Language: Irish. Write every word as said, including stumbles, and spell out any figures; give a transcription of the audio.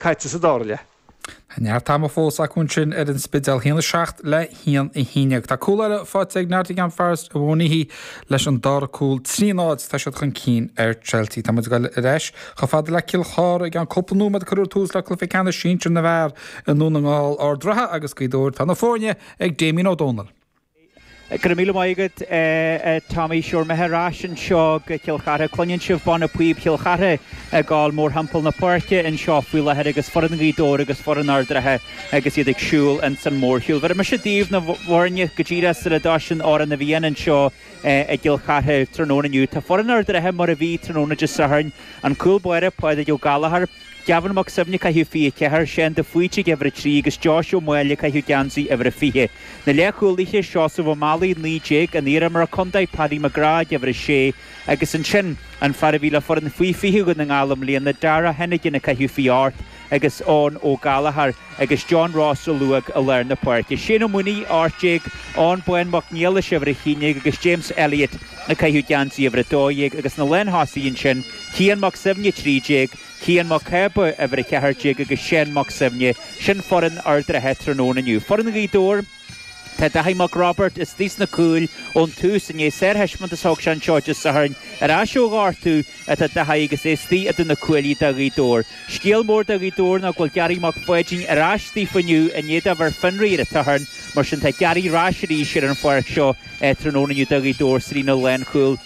Caite sa dara leath. Tá neart ama fós acu ansin ar an Spidéal haon a seacht le haon a haon déag. Tá cúl eile faighte ag Nottingham Forest a bhunaithe leis an dara cúl trí náid tá siad chun cinn ar Chelsea. Tá muid ag dul ar ais chomh fada le Cill Chartha i gceann cúpla nóiméad cuirfear tús le cluiche ceannais sinsir na bhfear i nDún na nGall Ard an Rátha agus Gaoth Dobhair tá na foirne ag Damien Ó Dónaill. Go raibh míle maith agat Tommy Sure mé ar ais anseo go Cill Chartha Cluineann sibh banna píob Chill Chartha ag gabháil mórthimpeall na páirce anseo faoi láthair agus foireann Ghaoth Dobhair agus foireann Ard an Rátha agus iad ag siúl ins an mórshiúl. Bhéarfaidh mise daoibh na foirne go díreach sula dtosaíonn Amhrán na bhFiann anseo i gCill Chartha tráthnóna inniu. Tá foireann Ard an Rátha mar a bhí tráthnóna Dé Sathairn, an cúl báire Pádraig Ó Gallchóir, Gavin Mac Suibhne ag caitheamh fiche ceathair, Seán de Faoite ag uimhir a trí agus Josh Ó Máille ag caitheamh geansaí uimhir a fiche. Na leathchúlaithe, Seosamh Ó Meallaigh, naoi déag, an t-iarimreoir contae Paddy McGrath ag uimhir a sé agus ansin an fear a bhí le foireann faoi fiche Dhún na nGall i mbliana, Dara Hennigan ag caitheamh fiche ocht agus Eoin Ó Gallchóir agus John Ross a luadh i lár na páirce. Shane Ó Maonaigh, ocht déag, Eoin Bán Mac Niallais uimhir a haon déag agus James Elliott ag caitheamh geansaí uimhir a dó dhéag agus na lántosaithe ansin, Cian Mac Suibhne, trí déag, Cian Mac Cába, uimhir a ceathair déag agus Seán Mac Suibhne. Sin foireann Ard an Rátha tráthnóna inniu. Foireann Ghaoth Dobhair, Tá Daithí Mac Roibeaird istigh sna cúil ón tús inné sárthaispeántas a thug sé anseo Dé Sathairn ar ais ó ghortú atá Daithí agus é istigh idir na cuaillí do Ghaoth Dobhair. Scéal mór do Ghaoth Dobhair ná go bhfuil Gary Mac Pháidín ar ais daofa inniu i ndiaidh dó a bheith ar fionraí ar an tSatharn mar sin tá Gary ar ais arís ar an pháirc seo tráthnóna inniu do Ghaoth Dobhair sa líne lánchúil.